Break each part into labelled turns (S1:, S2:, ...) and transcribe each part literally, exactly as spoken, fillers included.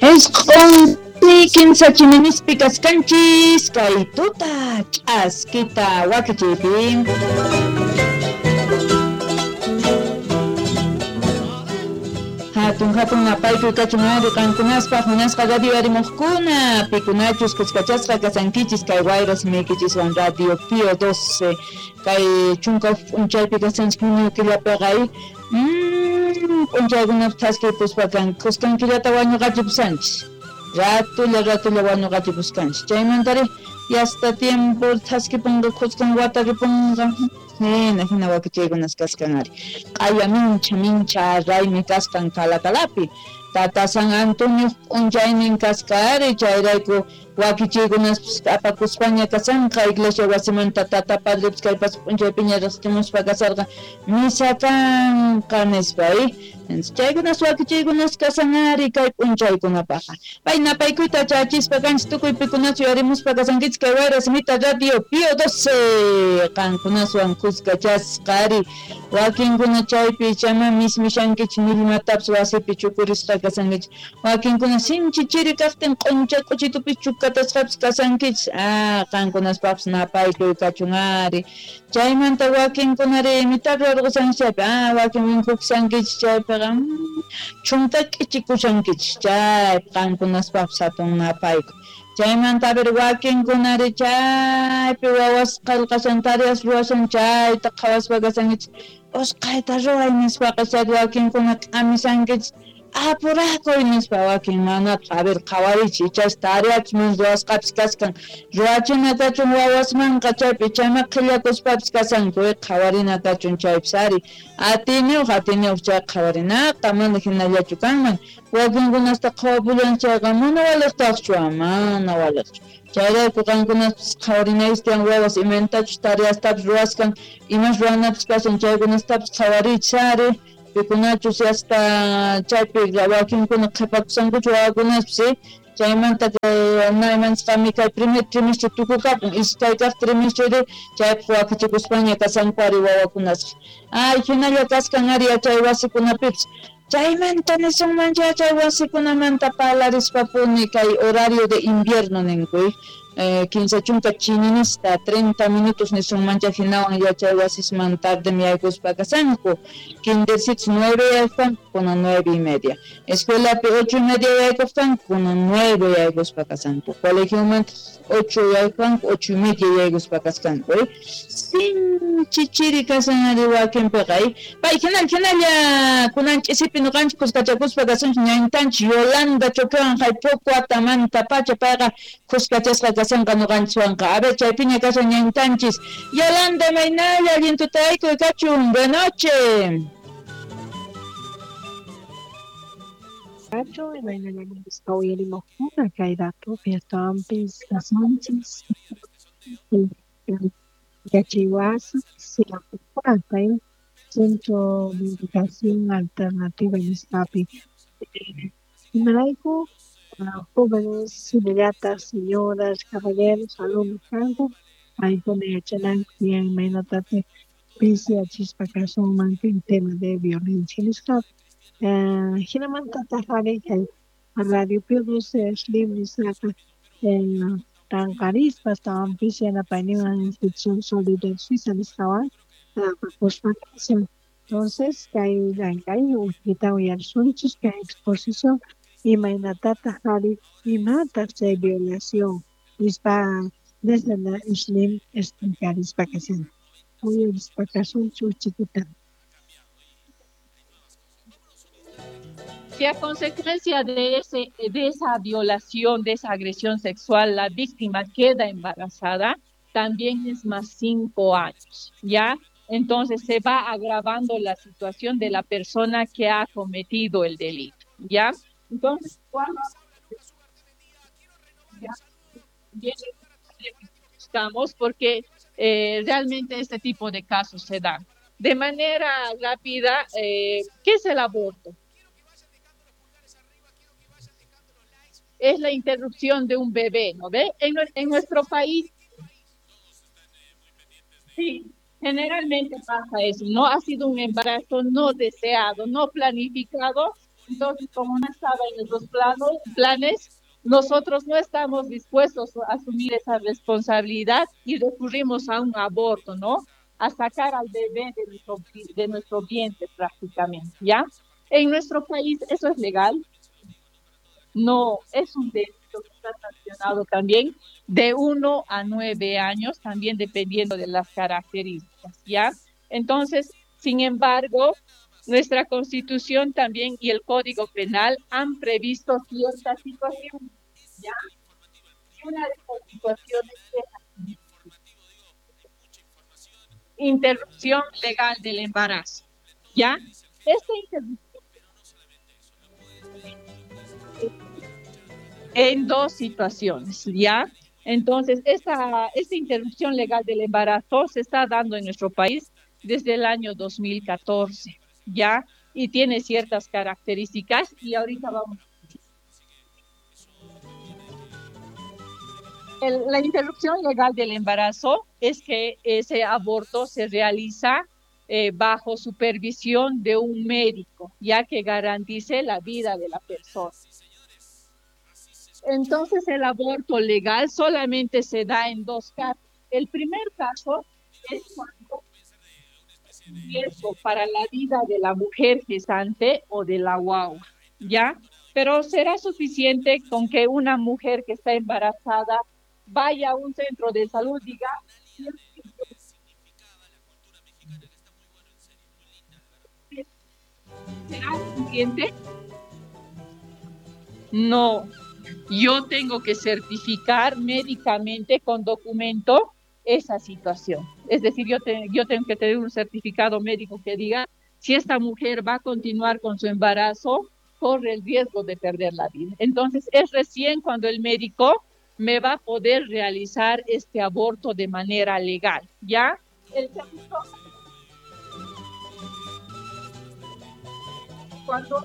S1: Isq'un kimsa chininispi kaskanchis kay tuta ch'askita wakichiypi. Hatun hatun napaykuy kachun ari qankunaspaq munasqa radio arimuqkuna pikunachus kuskachasqa kasankichis kay wayra simikichiswan Radio Pío doce kay chunka p'unchaypi kasanchis junio killapiqa mmm p'unchaykunapi thaskipuspa kan kuskan killata wañuqachipusanchis ratulla ratulla wañuqachipuskanchis chaymantari yasta tiempo thaskipunqa kuskan wata ripunqa hina hina wakichaykunas kaskan ari q'aya mincha mincha raymi kaskan Calacalapi Tata San Antonio p'unchaynin kasqa ari chayrayku wakichiykunaspis apakuspaña kasanqa iglesia wasimanta tata padrepis kay pacha p'unchaypiña riqsichimuspa kasarqa misa kanqa nispa chaykunas wakichiykunas kasan ari kay p'unchaykunapaqqa pay napaykuyta chachispa kanchis tukuy pikunachu yarimuspa kasankichis kay wayra simita Radio Pío doce qankunaswan kuskachasqa ari wakinkuna chaypi chama mismishankichis millmatapis wasipi chukurisqa kasankichis wakinkuna sinchi chiri kaqtin q'uncha k'uchitupi chukatasqapis kasankichis ah qankunaspaqpis napaykuy kachun ari chaymanta wakinkunari imita rurqushankichis chaypi ah wakin winkukushankichis chaypiqa chunka k'ichikushankichis chaypi qankunaspaqpis hatun napaykuy chaymanta a ver wakinkunari chaypi wawas qillqashan tareas ruwashan chayta qhawaspa kasankichis usqhayta ruway nispaqa chay wakinkuna k'amishankichis apurakuy nispa wakin manataq a ver qhawarichis ichash tareachus mana ruwasqapis kaskan ruwachina kachun wawasmanqa chaypi ichama qhillakuspapis kasanku qhawarina kachun chaypis ari atiniyuq atiniyuq chay qhawarinaqa mana hinallachu kanman wakinkunasta qhawapullan chayqa mana waliqtaqchu mana waliqchu chayrayku qankunaspis qhawarinaykichis tiyan wawas imaynatachus tareastapis ruwaskan imas ruwanapis kashan chaykunastapis qhawarichis ari pikunachus hasta chaypi wakinkuna qhipakusankuchu wawakunaspis chaymanta naymansqami kay primer trimestre tukukapun iskay kaq trimestre chaypaq wakichikuspaña kasanku ari wawakunasqa ay hinalla kaskan ari yachay wasikunapipis chaymanta nisunman yachay wasikunamanta parlarispapuni kay horario de invierno ninku Eh, kinsa chunka chininista treinta minutos nisunmancha hinawan yachay wasisman tardem yaykuspa kasanku kindercitos nueve yaykuspanku kuna nueve y media escuelapi ocho y media yaykuspanku kuna nueve yaykuspa kasanku colegiomanta ocho yaykuspanku ocho y media yaykuspa kaskanku eh? Sinchi chiri kasan ari wakinpiqa eh? Pay hinalla hinalla kunan ch'isipi nuqanchik kuskachakuspa kasunchik ñañtanchik Yolanda Choquewan hay poco watamanta pacha payqa kuskachasqa kasanqa nuqanchiswanqa a ver chaypiña kashan ñañtanchis Yolanda maynalla allin tutaykuy kachun buenas noches.
S2: Kachun imaynalla nispa uyarimuqkuna kay ratupi astawanpis kasunchis yachaywasi kay Centro de Educación Alternativa nisqapi imarayku jóvenes, señoritas, señoras, caballeros, alumnos kanku paykuna yachananku tiyan imaynatataq pisiyachispa kasunman kay tema de violencia nisqapi hinamantataq ari kay Radio Pío doce Slim nisqaqa tanqarispa astawanpis yanapayninwan Institución Solidaridad Suiza nisqawan apakuspa kashan. Entonces kay llank'ay uqhita uyarisunchis kay exposición imaynatataq ari imataq chay violación nispa desde la Slim explicarispa kashan uyarispa kasunchis uchikuta.
S3: Si a consecuencia de, ese, de esa violación, de esa agresión sexual, la víctima queda embarazada, también es más cinco años, ¿ya? Entonces se va agravando la situación de la persona que ha cometido el delito, ¿ya? Entonces, cuando buscamos, porque eh, realmente este tipo de casos se dan. De manera rápida, eh, ¿qué es el aborto? Es la interrupción de un bebé, ¿no ve? En, en nuestro país, sí, generalmente pasa eso, ¿no? Ha sido un embarazo no deseado, no planificado, Entonces, como no estaba en nuestros planos, planes, nosotros no estamos dispuestos a asumir esa responsabilidad y recurrimos a un aborto, ¿no? A sacar al bebé de nuestro, de nuestro vientre prácticamente, ¿ya? En nuestro país, ¿eso es legal? No, es un delito que está sancionado también de uno a nueve años, también dependiendo de las características, ¿ya? Entonces, sin embargo, nuestra Constitución también y el Código Penal han previsto ciertas situaciones, ¿ya? Y una de esas situaciones es interrupción legal del embarazo, ¿ya? Esta interrupción en dos situaciones, ¿ya? Entonces, esta, esta interrupción legal del embarazo se está dando en nuestro país desde el año dos mil catorce, ¿ya? Y tiene ciertas características y ahorita vamos. El, la interrupción legal del embarazo es que ese aborto se realiza eh, bajo supervisión de un médico, ya que garantice la vida de la persona. Entonces, el aborto legal solamente se da en dos casos. El primer caso es cuando riesgo para la vida de la mujer gestante o de la guagua, ¿ya? Pero será suficiente con que una mujer que está embarazada vaya a un centro de salud y diga, ¿será suficiente? No, yo tengo que certificar médicamente con documento esa situación. Es decir, yo, te, yo tengo que tener un certificado médico que diga si esta mujer va a continuar con su embarazo, corre el riesgo de perder la vida. Entonces, es recién cuando el médico me va a poder realizar este aborto de manera legal, ¿ya? El segundo, cuando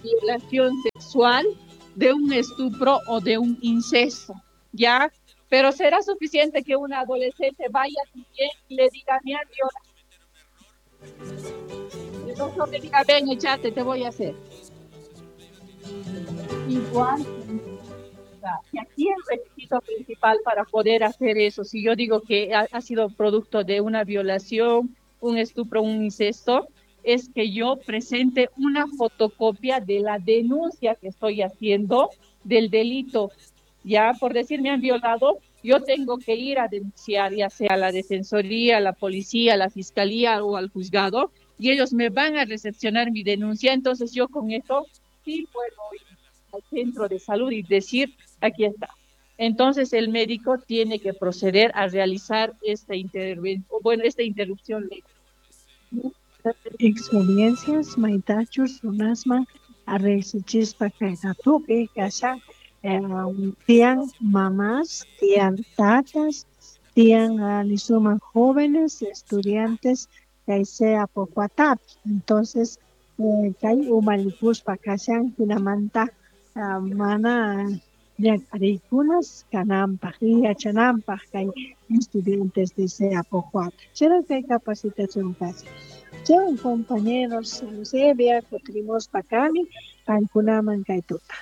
S3: violación sexual, de un estupro o de un incesto, ¿ya? Pero será suficiente que un adolescente vaya también y le diga, me han violado. El doctor le diga, ven, échate, te voy a hacer. Igual. Y aquí el requisito principal para poder hacer eso, si yo digo que ha, ha sido producto de una violación, un estupro, un incesto, es que yo presente una fotocopia de la denuncia que estoy haciendo del delito. Ya, por decir, me han violado, yo tengo que ir a denunciar, ya sea a la defensoría, a la policía, a la fiscalía o al juzgado, y ellos me van a recepcionar mi denuncia. Entonces yo con eso sí puedo ir al centro de salud y decir, aquí está. Entonces el médico tiene que proceder a realizar esta intervención, bueno, esta interrupción legal.
S2: Experiencias maitachus runasman arreqsichispa kaytatupi kashan tiyan mamás, tiyan tatas, tiyan nisuman jóvenes estudiantes kay sea pocuatapi. Entonces kay umalikuspa kashan hinamanta mana ñak'ariykunas kananpaq y yachananpaq kay estudiantes de sea pocuata. Chayra kay capacitación kashan. Chau, compañeros, Eusebia, kutirimospa kani, paykunaman kay tuta.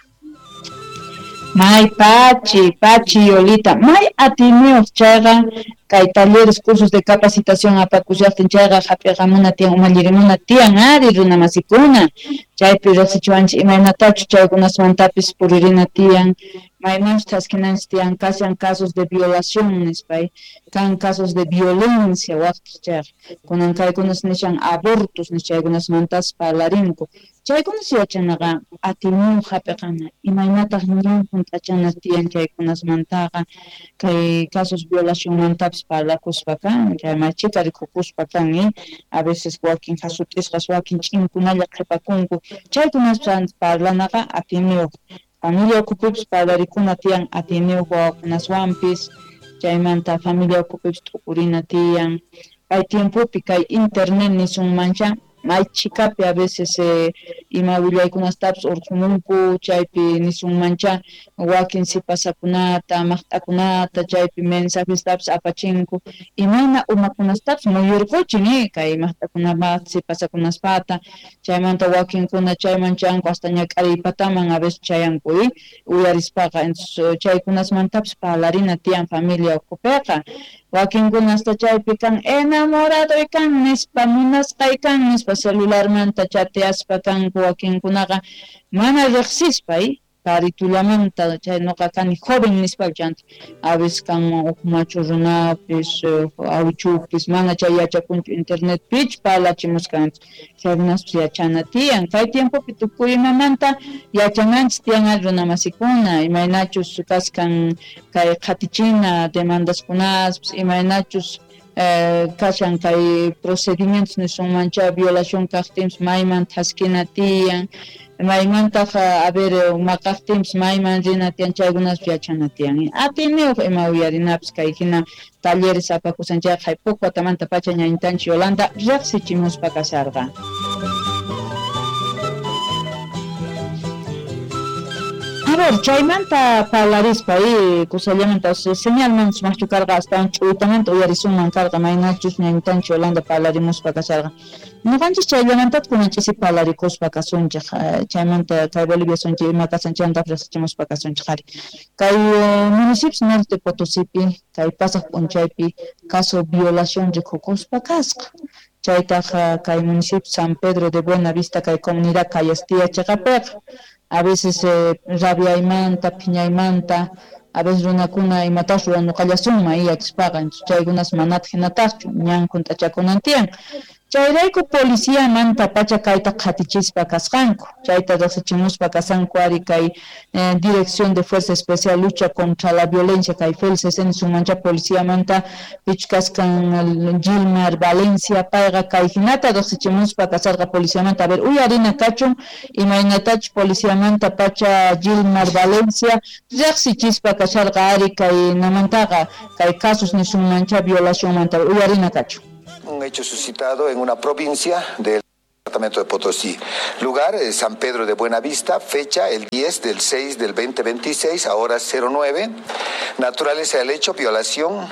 S1: May pachi, pachi Yolita, may atiniyuq chayqa kay talleres, cursos de capacitación apakushaqtin chayqa hap'iqamuna tiyan umallirimuna tiyan ari runamasikuna, chaypi riqsichiwanchik imaynatachu chaykunasmantapis puririna tiyan, maymanchu thaskinanchik tiyan, kashan casos de violación nispay, kan casos de violencia waqtaq chayqa, kunan kaykunas nishan abortos nish chaykunasmantas parlarinku. Chaykunas yachanaqa atiniyuq hap'iqana, imaynataq ñan hunt'achana tiyan chaykunasmantaqa, kay casos violacionmantapis parlakuspa kan, chay machita rikukuspa kan, eh? A veces wakin hasut'isqas, wakin ch'inkunalla qhipakunku, chaykunas parlanaqa atiniyuq. Familia ukhupipis parlarikuna tiyan atiniyuq wawakunaswanpis, chaymanta familia ukhupipis t'ukurina tiyan. Kay tiempopi kay internet nisunmancha, may chikapi a veces eh, Ima willaykunastapis urqumunku chaypi nisunmancha wakin sipasakunata maqt'akunata chaypi mensajestapis apachinku imayna umakunastapis muyurquchin eh kay maqt'akunapaq sipasakunaspata chaymanta wakinkuna chayman chanku hasta ñak'ariypataman a veces chayanku eh uyarispaqa entonces chaykunasmantapis parlarina tiyan familia ukhupiqa wakinkuna hasta chaypi kan enamoradoy kan nispa munasqay kan nispa celularmanta chateaspa kanku wakinkunaqa mana riqsispa eh karitullamanta chay nuqa kani joven nispa chanta a veces kanman huk machu runapis awichupis mana chay yachakunchu internet pich parlachimusqanchik chaykunaspis yachana tiyan kay tiempopi tukuy imamanta yachananchik tiyan runamasikuna imaynachus kaskan kay qhatichina demandaskunaspis imaynachus Eh, kashan kay procedimientos nisunmancha violación kaqtinpis mayman thaskina tiyan maymantaq a ver maqaqtinpis mayman rina tiyan chaykunaspis yachana tiyan atiyniyuq ima uyarinapis kay hina talleres apakusan chayqa haypuq watamanta pacha ñañitanchik Yolanda riqsichimuspa kasharqa. A ver, chaymanta parlarispa eh, kusallamanta señalman sumaqchu karqa astawan ch'uytamanta uyarisunman karqa maynachus ñañitanchik Yolanda parlarimuspa kasharqa ñuqanchis chayllamantataq kunan ch'isi parlarikuspa kasunchik chaymanta kay Bolivia sunchik ima kasan chaymantapas riqsichimuspa kasunchik ari kay municipios Norte Potosipi kay pasaq p'unchaypi caso violación rikukuspa kasqa chaytaq kay municipio San Pedro de Buenavista kay comunidad Cayastía chiqapiqa a veces eh, rabiaymanta, phiñaymanta, a veces runakuna imatas ruwanuqallasunman yachaspaqa chaykunas manataq hinataqchu ñan hunt'achakunan tiyan chayrayku policiamanta pacha kayta qhatichispa kasqanku chayta riqsichimuspa kasanku ari kay eh, Dirección de Fuerza Especial Lucha contra la Violencia kay F E L C C nisunmancha policiamanta pichkaskan Gilmar Valencia payqa kay hinata riqsichimuspa kasarqa policiamanta a ver uyarina kachun imaynatach policiamanta pacha Gilmar Valencia riqsichispa kasharqa ari kay namantaqa kay casos nisunmancha violacionmanta uyarina kachun.
S4: Un hecho suscitado en una provincia del departamento de Potosí. Lugar, eh, San Pedro de Buenavista, fecha el diez del seis del veinte veintiséis, a horas cero nueve. Naturaleza del hecho, violación.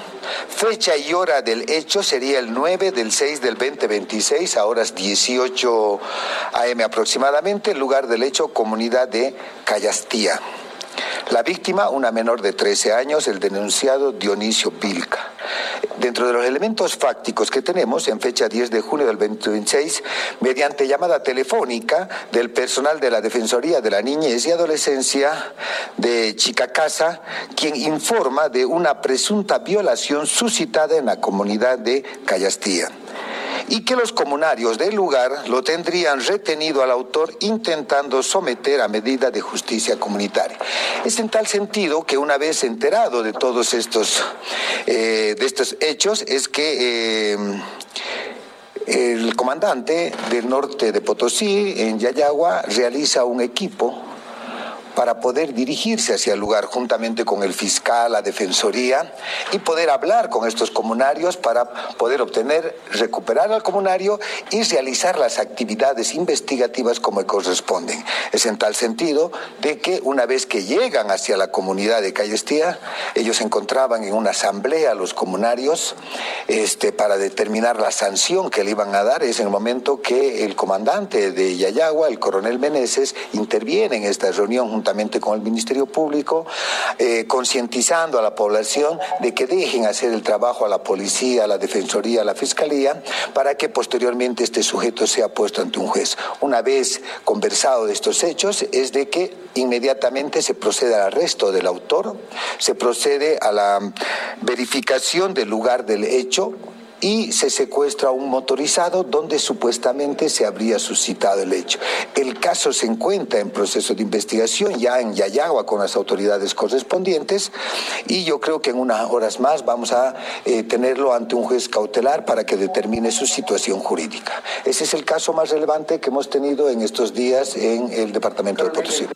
S4: Fecha y hora del hecho sería el nueve del seis del veinte veintiséis, a horas dieciocho A M aproximadamente. Lugar del hecho, comunidad de Cayastía. La víctima, una menor de trece años, el denunciado Dionisio Vilca. Dentro de los elementos fácticos que tenemos, en fecha diez de junio del veinte veintiséis, mediante llamada telefónica del personal de la Defensoría de la Niñez y Adolescencia de Chicacasa, quien informa de una presunta violación suscitada en la comunidad de Cayastía, y que los comunarios del lugar lo tendrían retenido al autor intentando someter a medida de justicia comunitaria. Es en tal sentido que una vez enterado de todos estos, eh, de estos hechos, es que eh, el comandante del norte de Potosí, en Llallagua, realiza un equipo para poder dirigirse hacia el lugar juntamente con el fiscal, la defensoría, y poder hablar con estos comunarios para poder obtener, recuperar al comunario y realizar las actividades investigativas como corresponden. Es en tal sentido de que una vez que llegan hacia la comunidad de Cayastía, ellos se encontraban en una asamblea los comunarios, este, para determinar la sanción que le iban a dar. Es en el momento que el comandante de Llallagua, el coronel Meneses, interviene en esta reunión juntamente con el Ministerio Público, eh, concientizando a la población de que dejen hacer el trabajo a la policía, a la defensoría, a la fiscalía, para que posteriormente este sujeto sea puesto ante un juez. Una vez conversado de estos hechos, es de que inmediatamente se procede al arresto del autor, se procede a la verificación del lugar del hecho y se secuestra un motorizado donde supuestamente se habría suscitado el hecho. El caso se encuentra en proceso de investigación ya en Llallagua con las autoridades correspondientes, y yo creo que en unas horas más vamos a eh, tenerlo ante un juez cautelar para que determine su situación jurídica. Ese es el caso más relevante que hemos tenido en estos días en el departamento de Potosí.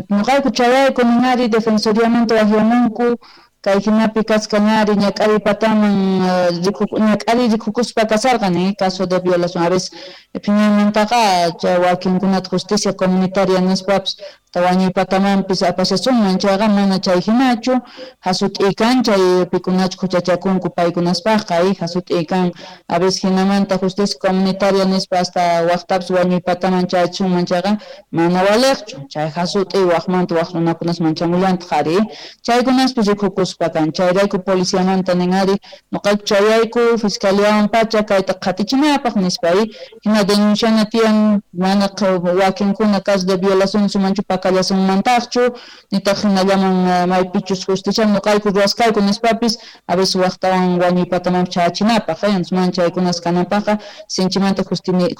S1: Ñuqayku chayayku ninari defensoriamanta waqyamunku Kay hinapi kaskan ari ñak'ariy pataman ñak'ariy rikukuspa kasarqan, eh, caso de violación. A veces phiñaymantaqa chay wakinkunata justicia comunitaria nispapis wañuy patamanpis apashasunman, chayqa mana chay hinachu, hasut'ikan chay pikunachu huchachakunku paykunaspaqqa, eh, hasut'ikan. A veces hinamanta justicia comunitaria nispa hasta waqtapis wañuy pataman chayachisunman chayqa mana waliqchu, chay hasut'i waqmanta waq runakunas manchamullantaq ari, chaykunaspis rikukuspa kan. Chayrayku policiamanta nin ari nuqayku chayayku fiscaliawan pacha kayta qhatichinapaq nispa, eh, hina denunciana tiyan mana wakinkuna caso de violación sumanchu pakallasunmantaqchu, nitaq hinallaman maypichus justicia nuqayku ruwasqayku nispapis a veces waqtawan wañuy patamanpis chayachinapaq, eh, entonces mana chaykunas kananpaqqa sinchimanta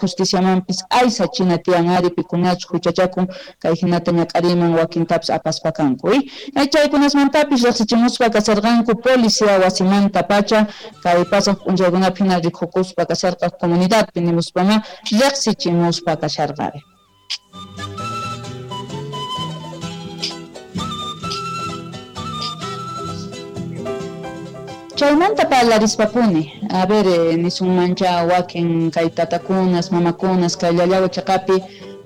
S1: justiciamanpis aysachina tiyan ari pikunachu huchachakun kay hinata ñak'ariyman wakintapis apaspa kanku, eh. Chaykunasmantapis riqsichimuspa kasarqanku policía wasimanta pacha kay pasaq p'unchaykunapi hina rikukuspa kasarqa comunidadpi nimuspama riqsichimuspa kasharqari. Chaymanta parlarispapuni, a ver, eh, nisunmancha wakin kay tatakunas, mamakunas, kay llallawa chaqapi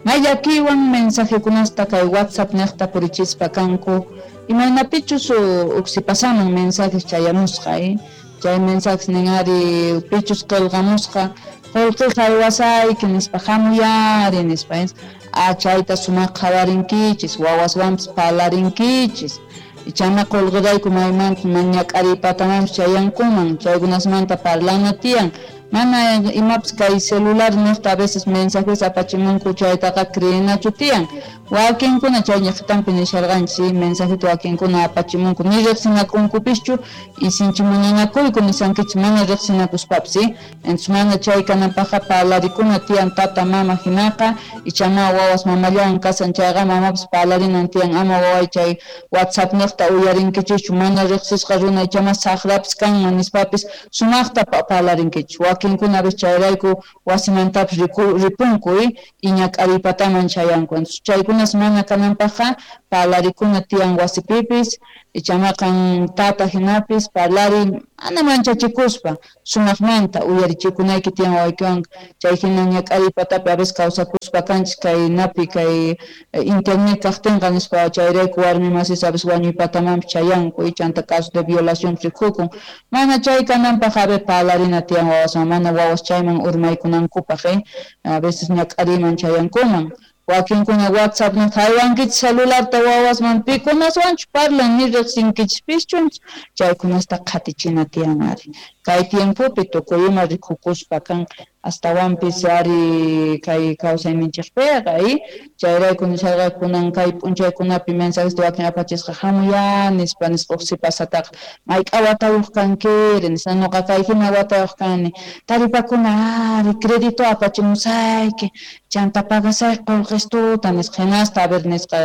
S1: may llakiwan mensajekunasta kay WhatsApp niqta purichispa kanku, imaynapichus uksipasaman mensajes chayamusqa, eh? Chay mensajes nin ari pichus qillqamusqa qullqi haywasayki nispa hamuyari nispa, eh? Ah, chayta sumaq qhawarinkichis, wawaswanpis parlarinkichis, ichana qullqirayku maymanta ñak'ariy patamanpis chayankuman, chaykunasmanta parlana tiyan. Mana imapis kay celular niqta a veces mensajes apachimunku chaytaqa creenachu tiyan. Wakinkuna chay ñiqtanpi nisharqanchis, mensajeta wakinkuna apachimunku ni riqsinakunkupischu y sinchi munanakuyku nisankichis mana riqsinakuspapis, eh? Entonces mana chay kananpaqqa parlarikuna tiyan tata mama hinaqa, ichama wawas mamallawan kasan chayqa mamapis parlarinan tiyan, ama waway chay WhatsApp niqta uyarinkichikchu mana riqsisqa runa ichama saqrapis kanman nispapis sumaqta parlarinkichis. Wakinkuna a veces chayrayku wasimantapis ripunku, eh, y ñak'ariy pataman chayanku. Entonces chaykunas mana kananpaqqa parlarikuna tiyan wasipipis, ichamaqan tata hinapis parlari mana manchachikuspa sumaqmanta uyarichikunayki tiyan wawaykiwan. Chay hina ñak'ariy patapi a veces kawsakuspa kanchis kay napi kay internet kaqtinqa nispa chayrayku warmi masis a veces wañuy patamanpis chayanku, chanta caso de violación rikukun. Mana chay kananpaq a ver parlarina tiyan wawaswan, mana wawas chayman urmaykunankupaq, eh, a veces ñak'ariyman chayankuman. Wakinkuna WhatsApp niq haywankichis celularta wawasman pikunaswanchu parlan ni riqsinkichipischu, chaykunasta qhatichina tiyan ari. Kay tiempopi tukuy ima rikukuspa kan astawanpis ari kay kawsayninchikpiqa, eh, chayrayku nisharqa kunan kay p'unchaykunapi mensajesta wakin apachisqa hamuya nispa nispa uqsipasataqa mayk'a watayuq kankiri nispa nuqa kay hina watayuq kani taripakuna ari crédito apachimusayki chanta pagasayki qullqistuta nisqa hinasta a ver nisqa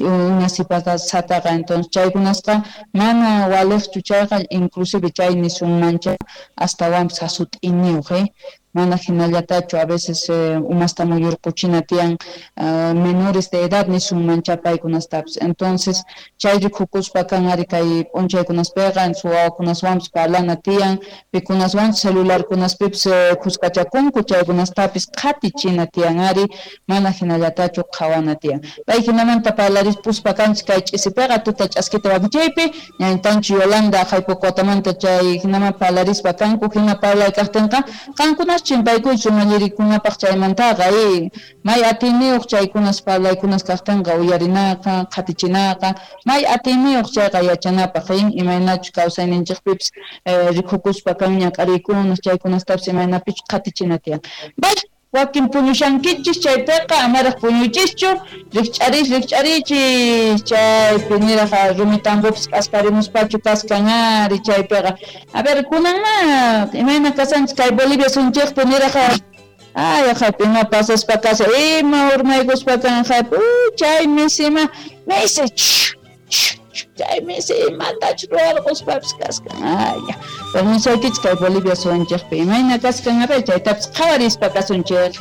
S1: una sipasataqa. Entonces chaykunasqa mana waliqchu chayqa, inclusive chay nisunmancha astawanpis hasut'iniyuq, eh, mana hinallatachu a veces eh, umasta muyurquchina tiyan uh, menores de edad nisunmancha paykunastapis. Entonces chay rikukuspa kan ari kay p'unchaykunaspiqa wawakunaswanpis parlana tiyan, pikunaswanchus celularkunaspipis eh, khuskachakunku chaykunastapis qhatichina tiyan ari, mana hinallatachu qhawana tiyan. Pay hinamanta parlarispuspa kanchis kay ch'isipiqa tuta ch'askita wakichaypi ñañtanchu Yolanda Jaypocotamanta chay hinaman parlarispa kanku, hina parlay kaqtinqa qankunas chimpaykuychu mallirikunapaq chaymantaqa, eh, may atiyniyuq chaykunas parlaykunas kaqtinqa uyarinaqa qhatichinaqa, may atiyniyuq chayqa yachanapaq, eh, imaynachu kawsayninchikpipis eh, rikukuspa kan ñak'ariykunas chaykunastapis imaynapichu qhatichina tiyan. Bay wakin puñushankichis chaypiqa amaraq puñuychischu, rikch'arich rikch'arichis chaypi niraq rumitambopiz k'asparimuspachu kaskan ari chaypiqa. A ver kunanma imayna kasanchis kay Bolivia sunchikpi niraq ay jaypi ima pasaspa kasha ima urmaykuspa kan jaypi chay misima misi chay misi imatachu ruwarquspapis kaskan. Ay ya permisaykichis kay Bolivia sunchikpi imayna kaskan a ver chaytapis qhawarispa kasunchik.